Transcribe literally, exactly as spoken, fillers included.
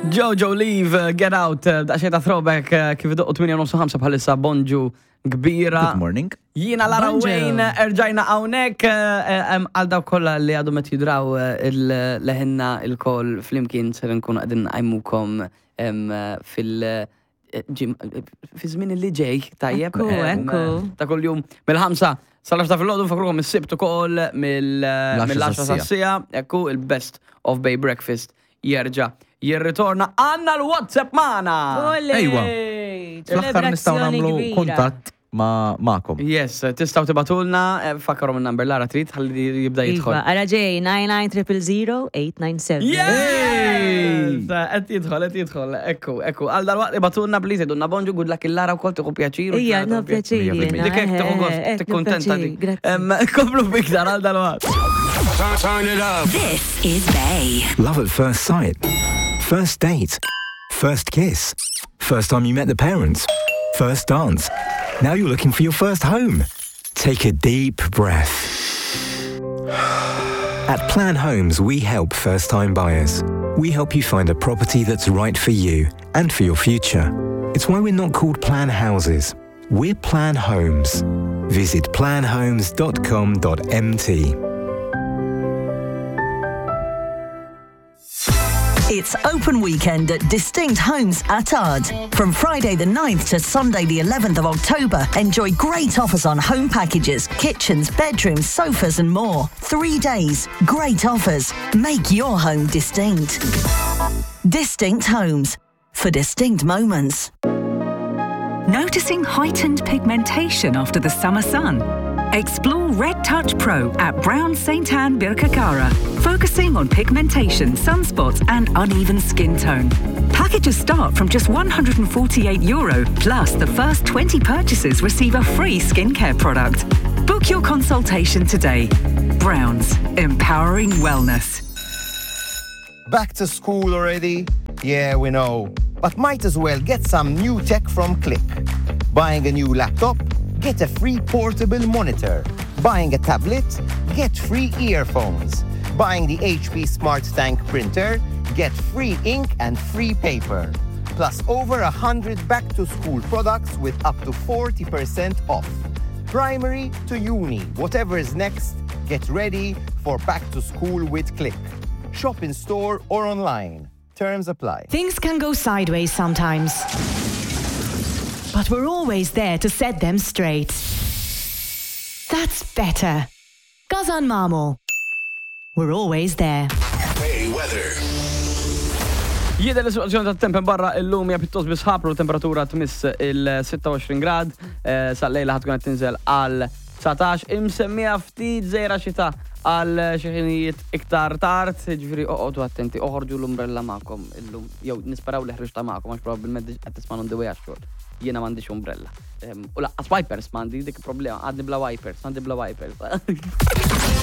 Jojo Leave, uh, Get Out, uh, daqsxejn ta' throwback uh, kif idoqqu tmienja u nofs bħalissa, bonġu kbira. Good morning. Jiena Lara. Bonġu. Wayne, erġajna hawnhekk għal dawk kollha li għadu met jidraw leħinna il-kol flimkien ser nkunu qegħdin nqajmukom em, fil- ġim- fi żmien li ġej, tajjeb. Ekku, em, ekku. Ta' kull-jum mill-ħamsa sal-għaxra ta' filgħodu, nfakkrukom is-Sibt ukoll mill-għaxra sas-siegħa, ekku il-Best of Bay Breakfast jerġa' jirritorna. Għandna l-WhatsApp magħna. Ejwa. Fl-aħħar nistgħu nagħmlu kuntatt ma' magħkom. Yes, tistgħu tibagħtulna, eh, fakkarom il-number, Lara, trid ħalli jibda jidħol. Iva, ara ġej, nine nine triple zero eight nine seven. Yes! Qed jidħol, qed jidħol, ekku, ekku. Għal dal-waqt ibagħtulna please, għidulna bonġu, good luck il-Lara wkoll tieħu pjaċir. U Ija, ġara no tieħu pjaċir. Mija jiena, fil-mija. Dik hekk tieħu eh, gost, eh, tikkuntenta pjaċir, dik. Grazzi. Em, Komplu biktar għal dal-waqt. Turn it up. This is Bay. Love at first sight. First date. First kiss. First time you met the parents. First dance. Now you're looking for your first home. Take a deep breath. At Plan Homes, we help first time buyers. We help you find a property that's right for you and for your future. It's why we're not called Plan Houses. We're Plan Homes. Visit plan homes dot com dot M T. It's open weekend at Distinct Homes Attard. From Friday the ninth to Sunday the eleventh of October, enjoy great offers on home packages, kitchens, bedrooms, sofas and more. Three days, great offers. Make your home distinct. Distinct Homes. For distinct moments. Noticing heightened pigmentation after the summer sun? Explore Red Touch Pro at Brown Saint Anne Birkirkara, focusing on pigmentation, sunspots, and uneven skin tone. Packages start from just one hundred forty-eight euro, plus the first twenty purchases receive a free skincare product. Book your consultation today. Browns, empowering wellness. Back to school already? Yeah, we know. But might as well get some new tech from Click. Buying a new laptop? Get a free portable monitor. Buying a tablet? Get free earphones. Buying the H P Smart Tank printer? Get free ink and free paper. Plus over a hundred back to school products with up to forty percent off. Primary to uni, whatever is next, get ready for back to school with Click. Shop in store or online. Terms apply. Things can go sideways sometimes. But we're always there to set them straight. That's better. GasanMamo. We're always there. Bay weather. Jidher li situazzjoni ta' temp barra illum hija pjuttost bisħab u temperatura tmiss il-sitta u għoxrin grad, eh, sal-lejla ħa tkun qed tinżel għal dsatax, imsemmija ftit żejra xita għal xi ħinijiet iktar tard, ġifieri oqgħodu attenti, oħorġu l-umbrella magħkom illum, jew nisperaw li ħriġta magħkom għax probabbilment qed tisma' on the way għax-xogħol. Jiena m'għandix umbrella. Em, U lanqas wipers m'għandi, dik problema, għadni bla wipers, għandi bla wipers.